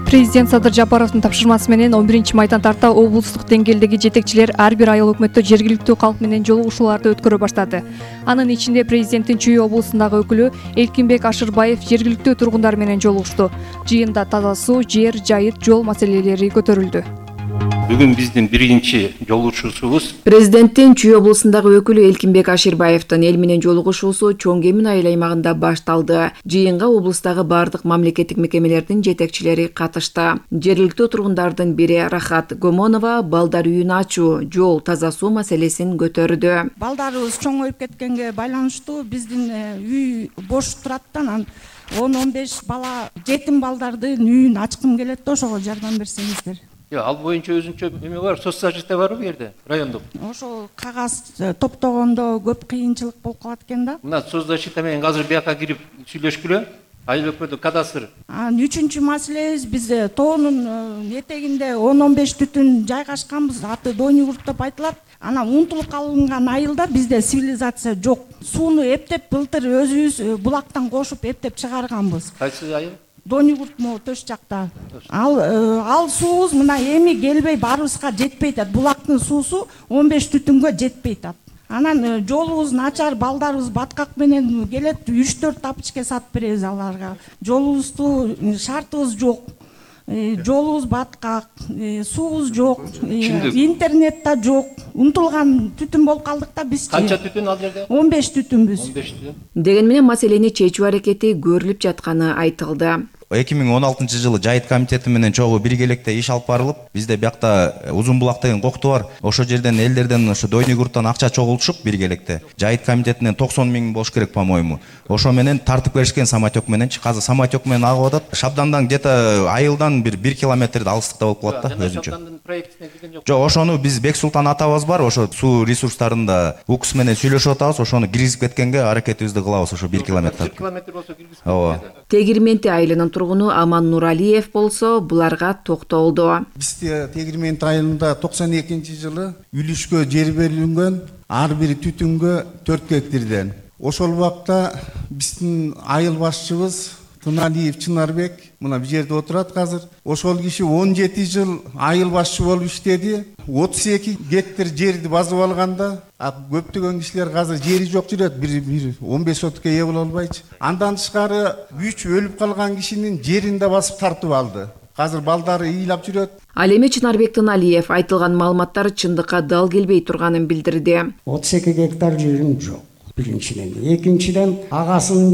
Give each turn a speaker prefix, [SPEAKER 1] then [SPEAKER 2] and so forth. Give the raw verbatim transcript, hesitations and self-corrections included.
[SPEAKER 1] Президент Садыр Жапаровдун тапшырмасы менен он биринчи майдан тарта облустук деңгээлдеги жетекчилер ар бир айыл өкмөттө жергиликтүү калк менен жолугушууларды өткөрө баштады. Анын ичинде президенттин Чүй облусундагы өкүлү Элкинбек Ашырбаев жергиликтүү тургундар менен жолугушту. Жыйында таза суу, жер, жайыт, жол маселелери көтөрүлдү.
[SPEAKER 2] Бүгүн биздин биринчи жолугушуусубуз
[SPEAKER 3] Президенттин Чүй облусундагы өкүлү Элкинбек Ашырбаевдин эл менен жолугушуусу Чоң Кемин айыл аймагында башталды. Жыйынга облустагы бардык мамлекеттик мекемелердин жетекчилери катышты. Жергиликтүү тургундардын бири Рахат Гомонова балдар үйүн ачуу, жол, таза суу маселесин көтөрдү.
[SPEAKER 4] Балдарыбыз чоңоюп кеткенге байланыштуу биздин үй бош турат да, анан он он беш бала жетим балдардын үйүн ачкым келет да, ошого жардам берсеңиздер.
[SPEAKER 2] Yo, ал боюнча өзүнчө эме бар, соцзащита барбы бу жерде, райондук?
[SPEAKER 4] Ошол кагаз топтогондо көп кыйынчылык болуп калат экен да.
[SPEAKER 2] Мына соцзащита менен азыр бияка кирип сүйлөшкүлө. Айыл өкмөтү кадастр.
[SPEAKER 4] Анан үчүнчү маселебиз, биз тоонун этегинде он он беш түтүн жайгашканбыз, аты Дойнугурт деп айтылат. Анан унутулуп калынган айылда бизде цивилизация жок. Сууну эптеп былтыр өзүбүз булактан кошуп эптеп чыгарганбыз.
[SPEAKER 2] Кайсы айыл?
[SPEAKER 4] Дойнугурт могу төш жакта. Ал ал суубуз мына эми келбей баарыбызга жетпейт атат. Булактын суусу он беш түтүнгө жетпейт атат. Анан жолубуз начар, балдарыбыз баткак менен келет, үч төрт тапочка сатып беребиз аларга. Жолубузду шартыбыз жок. Жолубуз баткак, суубуз жок, интернет да жок. Унутулган түтүн болуп калдык да биз.
[SPEAKER 2] Канча түтүн ал жерде?
[SPEAKER 4] он беш түтүнбүз.
[SPEAKER 2] он беш түтүн.
[SPEAKER 3] Деген менен маселени чечүү аракети көрүлүп жатканы айтылды.
[SPEAKER 5] эки миң он алтынчы жылы жайыт комитети менен чогуу биргеликте иш алып барылып, бизде биякта Узун булак деген кокту бар. Ошол жерден элдерден ошо Дойнугурттан акча чогултушуп биргеликте. Жайыт комитетинен токсон миң болуш керек, по-моему. Ошо менен тартып беришкен самотек мененчи. Азыр самотек менен агып атат. Шабдандан где-то айылдан бир бир километр алыстыкта болуп калат да өзүнчө.
[SPEAKER 2] Шабдандын проектине кирген жок.
[SPEAKER 5] Жок, ошону биз Бексултан атабыз бар, ошо суу ресурстарында УКС менен сүйлөшүп атабыз, ошону киргизип кеткенге аракетибизди кылабыз, ошо бир километр.
[SPEAKER 2] бир километр болсо киргизип.
[SPEAKER 5] Ооба.
[SPEAKER 3] Тегирменти айылынын тургуну Аман Нуралиев болсо буларга токтолду.
[SPEAKER 6] Бизде Тегирменти айылында токсон экинчи жылы үлүшкө жер берилген, ар бир түтүнгө төрт гектардан. Ошол убакта биздин айыл башчыбыз Туналиев Чынарбек мына бул жерде отурат азыр. Ошол киши он жети жыл айыл башчы болуп иштеди. отуз эки гектар жерди базып алганда, көптөгөн кишилер азыр жери жок жүрөт, бир бир он беш сотукка ээ боло албайчы. Андан тышкары үч өлүп калган кишинин жерин да басып тартып алды. Азыр балдары ыйлап жүрөт.
[SPEAKER 3] Ал эми Чынарбек Туналиев айтылган маалыматтар чындыкка дал келбей турганын билдирди.
[SPEAKER 7] отуз эки гектар жерим жок. Биринчиден, экинчиден агасынын